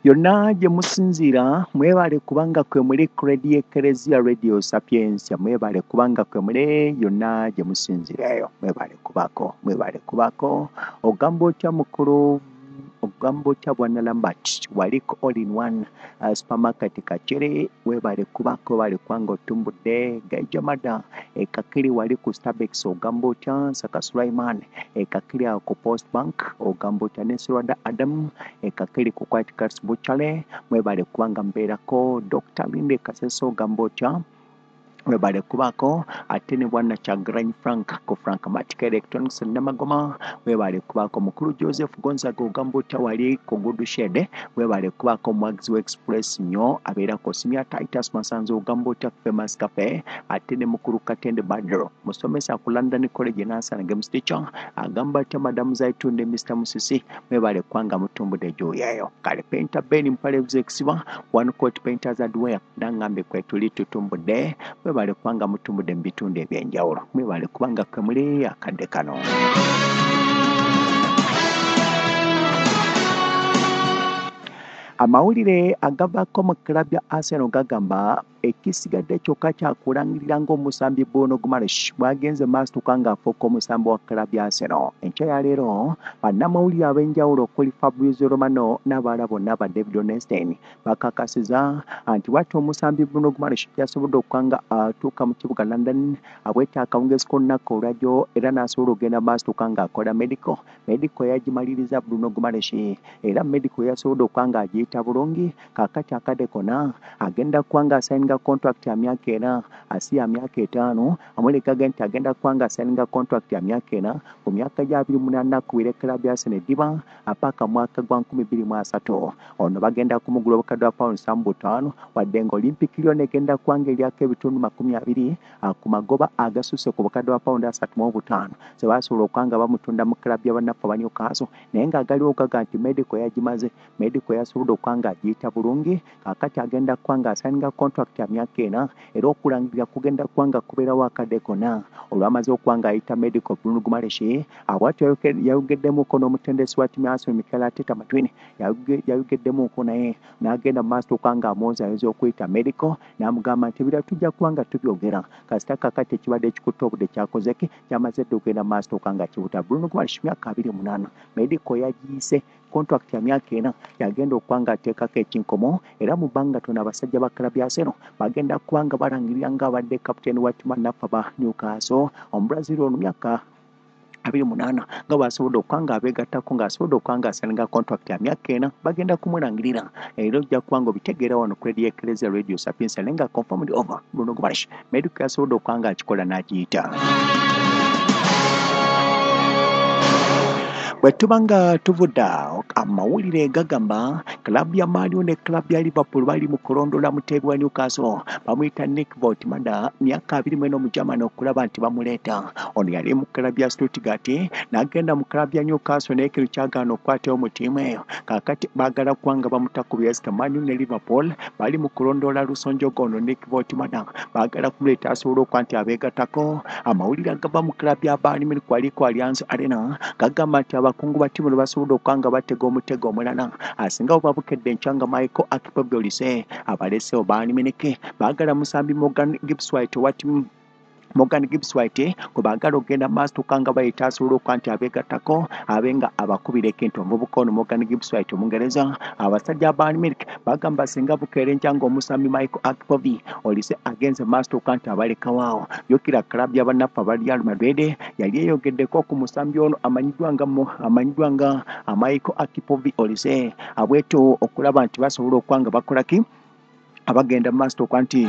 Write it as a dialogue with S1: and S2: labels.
S1: Yonna gye musinziira mwebale kubanga kwe muli ku Radio Eklezia Radio Sapientia, mwebale kubanga kwe muli yonna gye musinziira eyo, mwebale kubaako, mwebale kubaako. Ogamba otya mukulu, ogamba otya Bwana Lambert waliko all in one supermarket Kakiri, webale kubaako, webale kubanga otumbudde. Gaija Mada Kakiri wali ku Starbucks, ogamba otya Saka Sulaiman Kakiri awo ku Post Bank, ogamba otya Nesirwada Adam Kakiri ku White Cats Butchery, mwebale kubanga mbeerako. Dr. Linde Kaseso, ogamba otya, webale kubaako. Ate ne Bwana Chagranyi Frank ku Frank Matic Electronics Namagoma, webale kubaako. Mukulu Joseph Gonzaga, ogamba otya wali ku Good Shed, webale kubaako. Mwagizi wa Express nnyo abeera ku Simya Titus Masanzo, ogamba otya Famous Cafe. Ate ne mukulu Katende Badro musomesa ku London College Nansana Games teacher, agamba atya Madamu Zaitun ne Mr. Musisi, mwebale kubanga mutumbudde gy'oyeeyo. Kale Painter Ben Mpale Ekisiba One Court Painters Hardware nangambe kwetuli tutumbudde, mwebale kubanga mutumbudde mu bitundu ebyenjawulo, mwebale kubanga kwe muli akadde kano. Amawulire agavaako mu club ya Arsenal gagamba ekisigadde kyokka kyakulangirira ng'omusambi Bruno Guimaraes bw'agenze maaso ng'afuuka omusambi wa club ya Arsenal. Enkya ya leero bannamawulire ab'enjawulo okuli Fabrizio Romano n'abalala bonna ba David Ornstein bakakasiza nti bw'atyo omusambi Bruno Guimaraes yasobodde okuba nga atuuka mu kibuga London abweta akawungeezi k'olunaku olwajjo, era n'asobola okugenda maaso ng'akola medical. Medical yagimaliriza Bruno Guimaraes, era medical yasobodde okuba ng'agiyita bulungi. Kaakati akadde konna agenda kuba ng'asayininga contract ya myaka 4, asi ya myaka 5. Amulekaga nti agenda kuba ng'asayininga contract ya myaka 4 ku myaka gya 28 kuwira club ya Arsenal eddiba apaka mwaka gwa 2030. Ono bagenda kumugula obukadde bwa pound 75, wadde nga Olympic Lyon egenda kuba ng'eryako ebitundu 20 ku magoba agasusse ku bukadde bwa pound 35 ze basobola okuba nga bamutunda mu club y'abannaffe aba Newcastle. Naye ng'agaliwo gaga nti medical yagimaze, medical yasobodde okuba ng'agiyita bulungi. Kaakati agenda kuba ng'asayininga contract ya myaka 4, era okulangirira kugenda kuba nga kubeerawo akadde konna olwamaze okuba ng'ayita medical. Bruno Guimaraes abwatyo yayogeddemuko n'omutendesi wa ttiimu ya Arsenal Mikel Arteta Matwini, yayogeddemuko naye n'agenda mu maaso okuba ng'amwoza ayinza okuyita medical, n'amugamba nti ebirala tujja kuba nga tubyogera kasita kaakati ekibadde ekikutte obudde kyakoze ki, kyamaze dda okugenda mu maaso okuba nga kibuta. Bruno Guimaraes myaka 28, medical yagiyise, contract ya myaka 4 yagenda okuba ng'ateekako ekinkomo, era mu bbanga ttono abasajja ba club ya Arsenal bagenda kuba nga balangirira ng'abadde kapiteeni wa ttiimu naffe aba Newcastle Omubrazil ono myaka 28 nga bw'asobodde okuba ng'abeegattako, ng'asobodde okuba ng'asayininga contract ya myaka 4, bagenda kumulangirira era ojja kuba nga obitegeera wano ku Radio Eklezia Radio Sapientia. Naye nga confirmed over Bruno Guimaraes medical yasobodde okuba ng'akikola n'agiyita. Bwe tuba nga tuvudde awo, amawulire gagamba club ya Man U ne club ya Liverpool bali mu kulondola muteebi wa Newcastle bamuyita Nick Woltemade, myaka 24, Omugermany, okulaba nti bamuleeta. Ono yali mu club ya Stuttgart n'agenda mu club ya Newcastle, naye kino kyagaana okukwatayo mu ttiimu eyo. Kaakati baagala kuba nga bamuta ku byesika. Man U ne Liverpool bali mu kulondoola lusonjogo ono Nick Woltemade, baagala kumuleeta asobole okuba nti abeegattako. Amawulire agava mu club ya Bayern Munich waliko Allianz Arena gagamba nti abakungu ba ttiimu ne basobodde okuba nga batega omutego omulala asinga bwe babukedde enkya nga Michael Akipobi Olise abalesewo Bayern Munich. Baagala musambi Morgan Gibbs White owa ttiimu, Morgan Gibbs White gwe baagala okugenda maaso nga bayita asobola okuba nti abeegattako abe nga abakubira ekintu. Omuvubuka ono Morgan Gibbs White Omungereza, abasajja ba Bayern Munich bagamba singa bukeera enkya ng'omusambi Michael Akipobi Olise agenze maaso okuba nti abalekawaawo. Jjukira club y'abannaffe aba Real Madrid yali eyogeddeko ku musambi ono amanyiddwa nga Michael Akipobi Olise, abwetyo okulaba nti basobola okuba nga bakola ki, abagenda mu maaso okuba nti